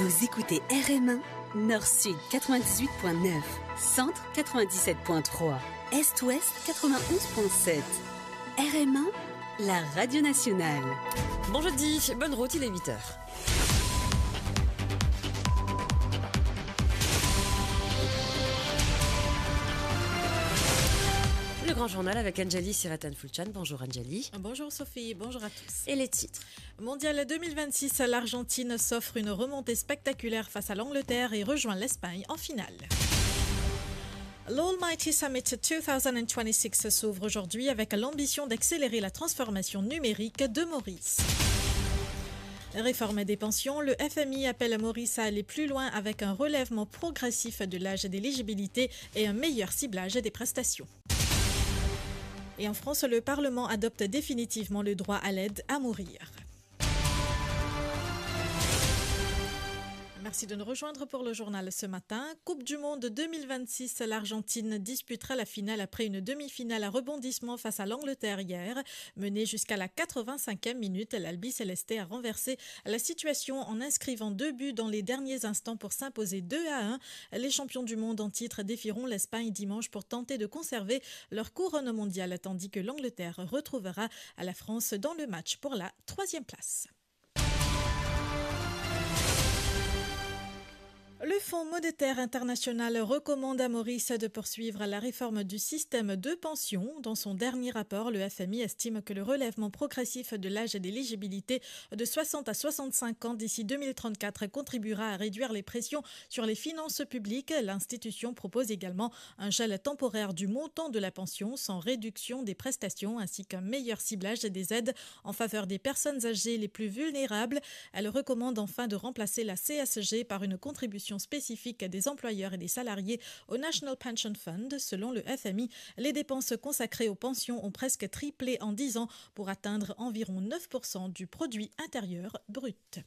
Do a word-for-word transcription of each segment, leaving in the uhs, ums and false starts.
Vous écoutez R M un, Nord-Sud quatre-vingt-dix-huit point neuf, Centre quatre-vingt-dix-sept point trois, Est-Ouest quatre-vingt-onze point sept. R M un, la radio nationale. Bon jeudi, bonne route, il est huit heures. Le grand journal avec Anjali Siratan Fulchan. Bonjour Anjali. Bonjour Sophie, bonjour à tous. Et les titres. Mondial deux mille vingt-six, l'Argentine s'offre une remontée spectaculaire face à l'Angleterre et rejoint l'Espagne en finale. L'Almighty Summit deux mille vingt-six s'ouvre aujourd'hui avec l'ambition d'accélérer la transformation numérique de Maurice. Réforme des pensions, le F M I appelle Maurice à aller plus loin avec un relèvement progressif de l'âge d'éligibilité et un meilleur ciblage des prestations. Et en France, le Parlement adopte définitivement le droit à l'aide à mourir. Merci de nous rejoindre pour le journal ce matin. Coupe du Monde deux mille vingt-six, l'Argentine disputera la finale après une demi-finale à rebondissement face à l'Angleterre hier. Menée jusqu'à la quatre-vingt-cinquième minute, l'Albi Céleste a renversé la situation en inscrivant deux buts dans les derniers instants pour s'imposer deux à un. Les champions du monde en titre défieront l'Espagne dimanche pour tenter de conserver leur couronne mondiale, tandis que l'Angleterre retrouvera la France dans le match pour la troisième place. Le Fonds monétaire international recommande à Maurice de poursuivre la réforme du système de pension. Dans son dernier rapport, le F M I estime que le relèvement progressif de l'âge d'éligibilité de soixante à soixante-cinq ans d'ici deux mille trente-quatre contribuera à réduire les pressions sur les finances publiques. L'institution propose également un gel temporaire du montant de la pension sans réduction des prestations ainsi qu'un meilleur ciblage des aides en faveur des personnes âgées les plus vulnérables. Elle recommande enfin de remplacer la C S G par une contribution spécifique des employeurs et des salariés au National Pension Fund. Selon le F M I, les dépenses consacrées aux pensions ont presque triplé en dix ans pour atteindre environ neuf pour cent du produit intérieur brut.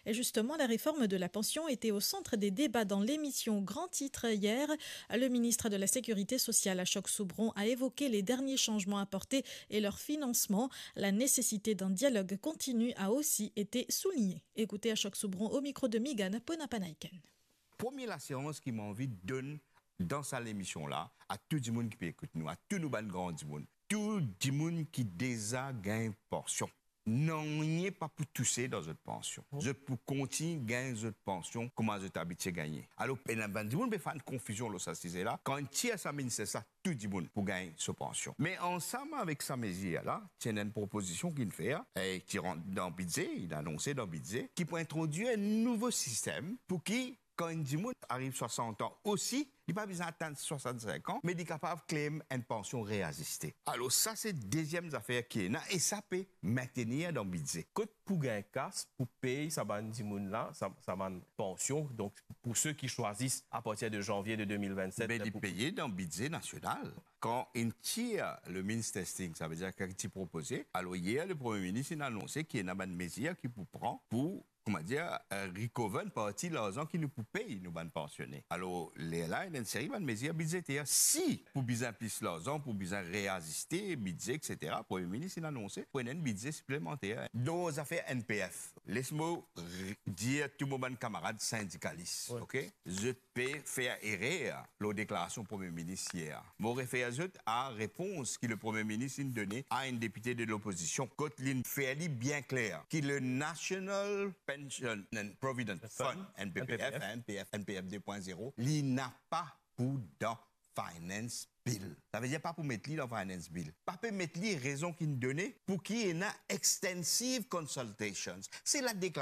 Et justement, la réforme de la pension était au centre des débats dans l'émission Grand Titre hier. Le ministre de la Sécurité sociale, Ashok Soubron, a évoqué les derniers changements apportés et leur financement. La nécessité d'un dialogue continu a aussi été soulignée. Écoutez Ashok Soubron au micro de Meghana Ponapanaiken. Premie lasirans ki mo anvi donn dan sa lemision la, a tou dimoun ki pe ekout nou, a tou nou bann gran dimoun, tou dimoun ki deza gagn pansion, nanye pa pou touse dan zot pansion. Zot pou kontign gagn zot pansion kouma zot abitie gagne. Alor, ena bann dimoun pe fer enn konfizion lor sa size la. Kan inn tir sa minister sa, tou dimoun pou gagn so pansion. Me ansam avek sa mezir la, ti ena enn propozision ki inn fer, e ki rant dan bidze, inn anonse dan bidze, ki pou introdwir enn nouvo sistem pou ki, kan enn dimoun ariv swasant an osi, li pa bizin atenn swasant-sink an, me li kapav claim enn pansion reaziste. Alor, sa se deziem zafer ki ena, e sa pe mintenir dan bidze. Kot pou gagn kas pou pey sa bann dimoun la, sa, sa bann pansion, donk pou se ki swazis apartir de zanvie de de mil vennset, me li pou peye dan bidze nasional. Kan inn tir le means testing, savedir ki ti propoze, alor yer, le Premie Minis inn anonse ki ena bann mezir ki pou pran pou, koumadir, eh, recover enn parti larzan ki nou pou pey nou bann pansione. Alor, lerla, ena enn seri bann mezir bidzeter. Si pou bizin plis larzan, pou bizin reaziste bidze, et cetera, Premie Minis inn anonse pou ena enn bidze siplemanter. Dan zafer N P F, les mo re-, dir tou mo bann kamarad sindikalis, wi, ok? Zot pe fer erer lor deklarasion Premie Minis yer. Mo refer zot a repons ki le Premie Minis inn done a enn depite de lopozision, kot linn fer li bien kler ki le National Pension and Provident Fund, Fund, N P P F, N P P F. N P P F de pwin zero, li napa pou dan Finance Bill. Savedir pa pou met li dan Finance Bill. Pa pe met li, rezon ki inn done, pou ki ena extensive consultations. Se la